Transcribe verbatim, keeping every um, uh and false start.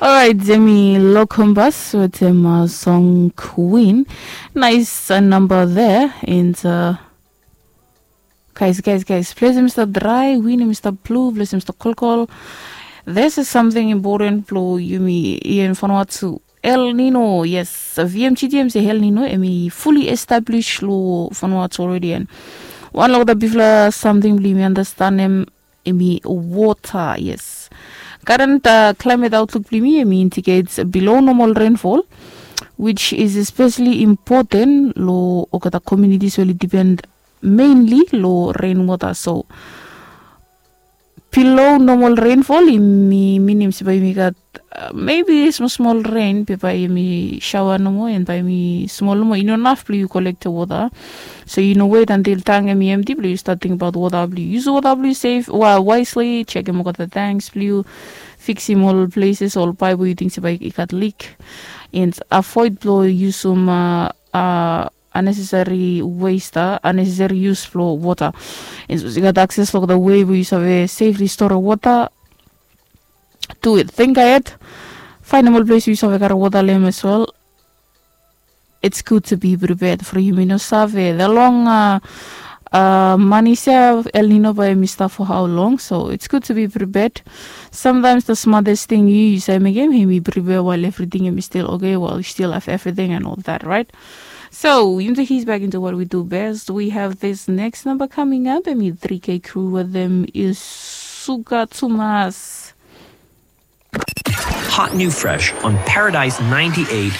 Orait, yumi Lokombas wetem song Queen. Nice namba there. And uh, guys, guys, guys, ples em i stap drai, win em i stap blu, ples em i stap kolkol. This is something important blo yumi ia in Vanuatu. El Nino, yes. V M G T em se El Nino em i fully established lo Vanuatu already. And wan lo olgeta bigfala samting blo yumi understand em em i wota, yes. Current uh, climate outlook blo yumi em i indicates below normal rainfall, which is especially important lo olgeta communities we oli depend mainly lo rainwater. So below normal rainfall em i minim se bae yumi gat uh, maybe small small rain be bae yumi shower nomo and bae yumi small nomo, i no naf blo yu kolektem wota. So yu no wet antil tank em i empty blo yu start ting abaot wota blo yu yusum wota blo yu sef, wa wisely, chekem olgeta tanks blo yu, fiksim ol places, ol paip we yu ting se bae i gat leak. And avoid blo yusum uh, uh, unnecessary waste, uh, unnecessary use blo wota. And sapos yu gat access lo olgeta wei we yu save safely store wota, do it. Think ahead. Faenem ol ples we yu save karem wota lo em as well. It's good to be prepared for yumi no save the long uh, uh, manis ya, El Nino bae em i stap for how long. So it's good to be prepared. Sometimes the smartest thing yu yu save mekem em i prepare while everything em i still okay, while you still have everything and all that, right? So yumi take he's back into what we do best. We have this next number coming up. Em i three K crew with them is Suka Tumas. Hot new fresh on Paradise ninety-eight